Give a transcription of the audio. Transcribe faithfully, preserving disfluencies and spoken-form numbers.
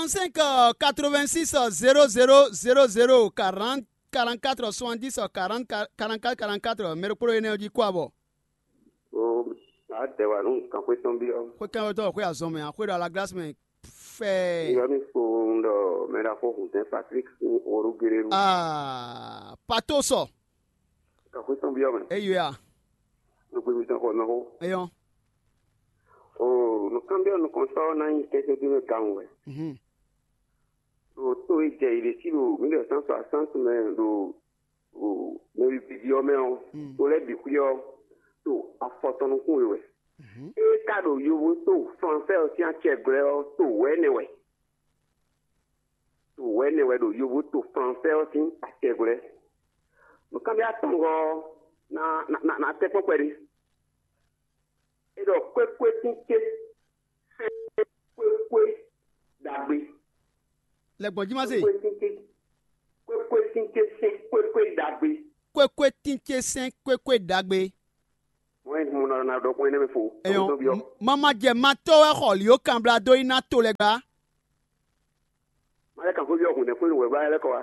Cinq quatre-vingt-six zéro zéro zéro zéro quarante quarante-quatre soixante-dix quarante quarante-quatre, mɛ ɖokpó ɖo énɛ́ ɔ́ jí kó abɔ. O, adɛwa nú kanxwé tɔn byɔ́. Xwé kɛnwétɔn xwé azɔn mɛ, xwé ɖo alaglasi mɛ fɛɛ. Yɔ mi kpo un ɖɔ mɛ ɖaxó Husɛn Patrik sín orúgéré nu. Aa, pato sɔ. Kanxwé tɔn byɔ́ mɛ. Eyo ya. Nukpémí tɔn xɔ mɛ xó. Eyɔn. O, nukánbyɔ́ nukɔntɔ́ ná nyí kɛntɛ́ dó mɛ gawun wɛ. Mhm. Ɖo to e jɛ yě ɖe sí ɖo mǐ ɖɔ sán sɔ asántu mɛ ɖo mɛ bǐbí ɔ́ mɛ ɔ́, to lɛ́ɛ bǐ xwí ɔ́, to afɔ tɔn nukún we wɛ. É ka ɖo yovo to fransɛ ɔ́ sín acɛgblɛ́ ɔ́, to wɛ̌nɛ wɛ. To wɛ̌nɛ wɛ ɖo yovo to fransɛ ɔ́ sín acɛgblɛ́. Nǔkanbyɔ́ atɔngɔ́ ɔ́, ná ná ná tɛ́ kpɔ́n kpɛɖé. É ɖɔ kwékwétín ce sɛ́n kwékwé ɖagbe. Lɛgbɔn jí má se. Kwékwétín ce kwékwétín ce sɛ́n kwékwé ɖagbe. Kwékwétín ce sɛ́n kwékwé ɖagbe. Wọ́n yí mo nɔ ná ɖɔ kpɔ́n énɛ́ mɛ fo. Eyɔn. Mama jɛ ma tɔ́ wɛ xɔ lǐó kanbla dó yi ná to lɛ gbá. Má lɛ kàn fó byɔ́ hǔn nɛ́ kpé wɛ bá lɛ́ kɔ wá.